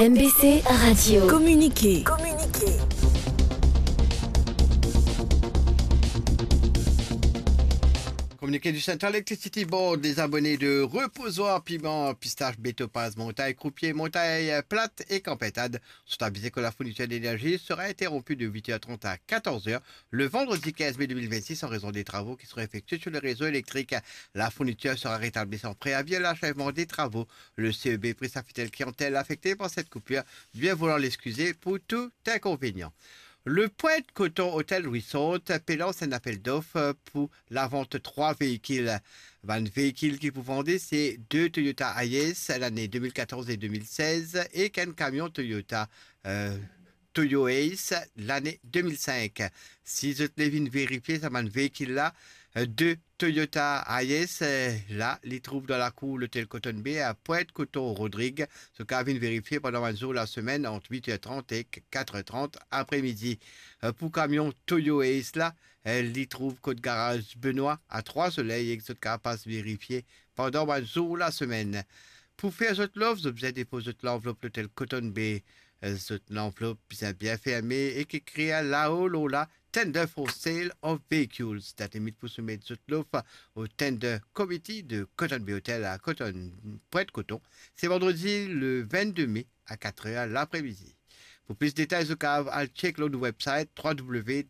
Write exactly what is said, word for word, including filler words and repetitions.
M B C Radio. Communiqué. Communiqué du Central Electricity Board, les abonnés de Reposoir Piment, Pistache, Bétopaz, Montagne Croupier, Montagne Plate et Campetade sont avisés que la fourniture d'énergie sera interrompue de huit heures trente à quatorze heures le vendredi quinze mai deux mille vingt-six en raison des travaux qui seront effectués sur le réseau électrique. La fourniture sera rétablie sans préavis à l'achèvement des travaux. Le C E B prie sa fidèle clientèle affectée par cette coupure de bien vouloir l'excuser pour tout inconvénient. Le Pointe Coton Hotel Resort pe lans enn apel dof pou lavant trwa veikil. Bann veikil ki pou vande, se de Toyota Hiace lane de mil katorz e de mil sez ek enn kamion Toyota, euh, Toyo Ace lane de mil senk. Si zot le vinn verifie sa bann veikil la, euh, de Toyota Hiace, euh, la, li trouv dan lakour lotel Cotton Bay a Pointe Coton Rodrigues. Zot kav vinn verifie pandan bann zour lasemenn ant wit er trant ek kat er trant apremidi. Euh, pou kamion Toyo Ace la, euh, li trouv kot garaz Benoit a Trois Soleils ek zot kav pas verifie pandan bann zour lasemenn. Pou fer zot lof, zot bizin depoz zot lanvlop lotel Cotton Bay. Euh, zot lanvlop bizin bien ferme ek ekrir lao lor la, Tender for Sale of Vehicles. Dat limit pou soumet zot lof au Tender Committee de Cotton Bay Hotel a Cotton, Pointe Coton, se vandredi le vennde me a kat er lapremidi. Pou plis detay, zot kav al check lor nou website w w w